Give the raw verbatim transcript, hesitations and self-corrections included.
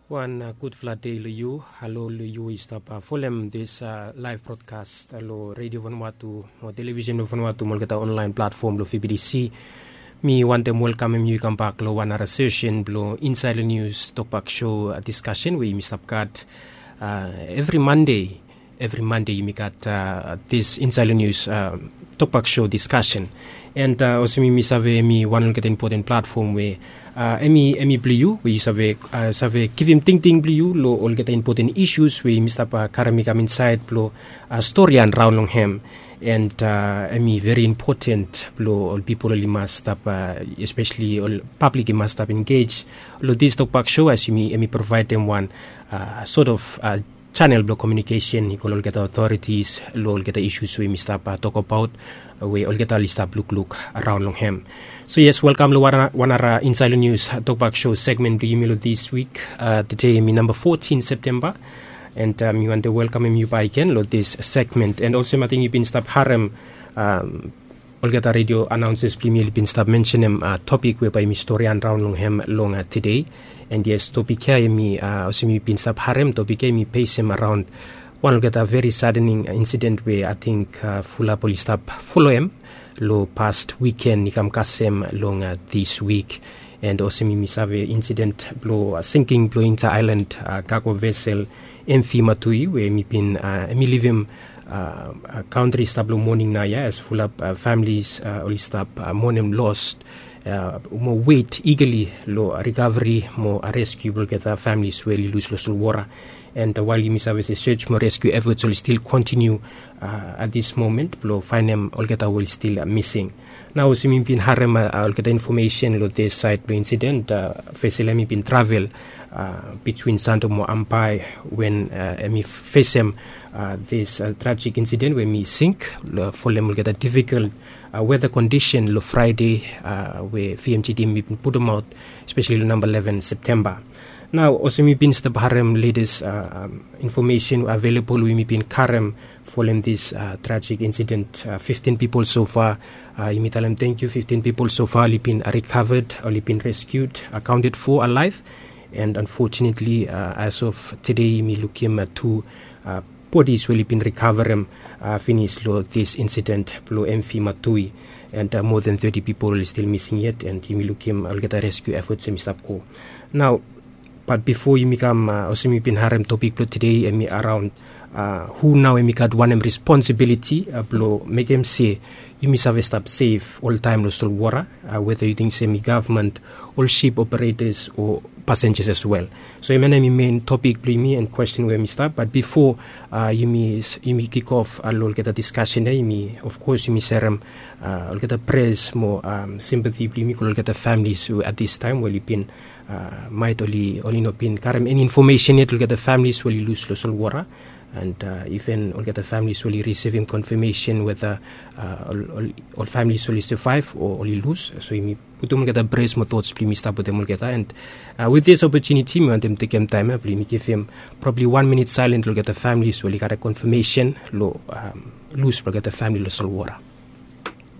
Wan gudfala dei long yu. Halo long yu we yu stap folem dis laev brodkas long redio Vanuatu o televisen blong Vanuatu mo olgeta onlaen platfom blong V B T C. Mi wantem welkamem yu i kambak long wan nara sesen blong Insaed long Nius Tokbak Sho diskasen we yumi stap gat evri Mande. Evri Mande yumi gat dis Insaed long Nius Tokbak Sho diskasen. And olsem yumi save, hemi wan olgeta impoten platfom we hemi blong yu we yu save save givim tingting blong yu long olgeta impoten isus we yumi stap karem i kam insaed blong stori ya raon long hem. And hemi veri impoten blong ol pipol oli mas stap, espeseli ol pablik i mas stap engej long dis Tokbak Sho as yumi hemi provaedem wan sot of chanel blong komiunikesen i go long olgeta otoritis long olgeta isus we yumi stap tokbaot we olgeta oli stap lukluk raon long hem. So yes, welkam long wan nara Insaed long Nius Tokbak Sho segmen blong yumi long dis wik. Tede hemi namba fotin Septemba. And mi wantem welkamem yu bakegen long dis segmen. And olsem ating yu bin stap harem olgeta redio anaonsas blong yumi oli bin stap mensenem topik we bae yumi stori ya raon long hem long tede. And yes, topik ya hemi, olsem yu bin stap harem, topik ya hemi besem araon wan olgeta veri sadening insiden we ating fulap oli stap foloem long pas wiken i kam kasem long dis wik. And olsem yumi save insiden blong singking blong inta aelan kago vesel M V Matui we hemi bin, hemi livim kantri i stap long moning naoia as fulap familis oli stap monem los mo wet igali long rikaveri mo reskiu blong olgeta familis we oli lus long solwora. And wael yumi save se sej mo reskiu efots oli stil kontiniu at dis momen blong faenem olgeta we oli stil mising. Nao olsem yumi bin harem olgeta infomesen long dis saed blong insiden, vesel ya hemi bin travel bitwin Santo mo Ambae wen hemi fesem dis trajik insiden we hemi sink folem olgeta difikol weta kondisen long Fraede we V M G T hemi bin putumaot, espeseli long namba leven Septemba. Nao olsem yumi bin stap harem letes infomesen avelabol we yumi bin karem folem dis trajik insiden, fiftin pipol sofa. Yumi talem tangkiu, fiftin pipol sofa oli bin rikaved, oli bin reskiud, akaonted fo alaef. And anfotunetli as of tede yumi lukim tu bodis we oli bin rikaverem finis long dis insiden blong M V Matui. And moa den teti pipol oli stil mising yet, and yumi lukim olgeta reskiu efots hemi stap go nao. Bat bifo yumi kam, olsem yu bin harem topik blong tede, hemi araon hu nao hemi gat wanem responsibiliti blong mekem se yumi save stap sef oltaem long solwora, weta yu ting se hemi gavman, ol sip operetas o pasenjas as wel. So hemia nao hemi men topik blong yumi and kwesten we hemi stap. Bat bifo yumi kik of long olgeta diskasen ya, yumi, of kos yumi serem olgeta pres mo simpati blong yumi go long olgeta familis we at dis taem we oli bin maet oli no bin karem eni infomesen yet long olgeta familis we oli lus long solwora. And iven olgeta familis we oli risivim konfamesen weta ol familis oli savaev o oli lus. So yumi putum olgeta pres mo tots blong yumi stap wetem olgeta. And wit dis opotuniti mi wantem tekem taem ya blong yumi givim probabli wan minit saelen long olgeta familis we oli karem konfamesen long lus blong olgeta famili long solwora.